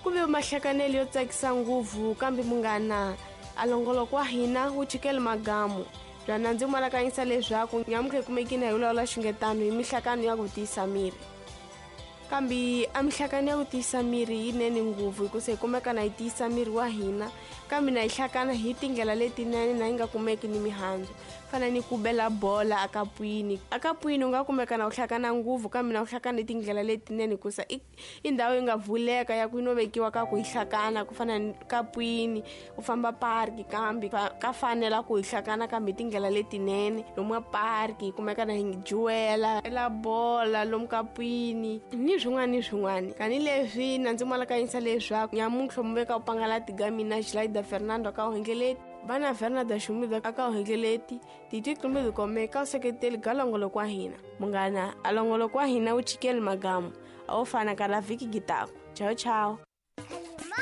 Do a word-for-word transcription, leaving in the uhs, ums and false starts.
Ku ve mahlakanelo yo tsakisa ngopfu, kambe munghana a longoloko wa hina wu chikele magamu. Byana ndzi malakanyisa leswaku nyamutlha hi kumekile hi vulavula xingetano hi mihlakano ya ku tiyisa miri. Kambe a mihlakano ya ku tiyisa miri yinene ngopfu hikusa hi kumeka na yi tiyisa miri wa hina, kambe na yi hlakana hi tindlela letinene na yi nga kumeki ni mihandzu. Fana ni ku bela bola akapwini. Akapwini u nga kumeka na u hlakana ngopfu, kambe na u hlakana hi tindlela letinene hikusa i, i ndhawu yi nga vuleka ya ku yi no vekiwa ka ku yi hlakana, ku fana ni kapwini u famba parki, kambe ka fanela ku yi hlakana kambe hi tindlela letinene. Lomu parki hi kumeka na hi juwela ela bola lomu kapwini ni swin'wana ni swin'wana. Tanihileswi na ndzi malakanyisa leswaku nyamuntlha mu veka u pangala tiga mina Gilaida Fernando ka uhengeleti vana Fernando Xumida aka uhengeleti titwi kumbe tikomeka u seketeli ga longoloko wa hina. Munghana a longoloko wa hina wu chikeli magamu a wo fana ka la vhiki gitaku. Chao chao.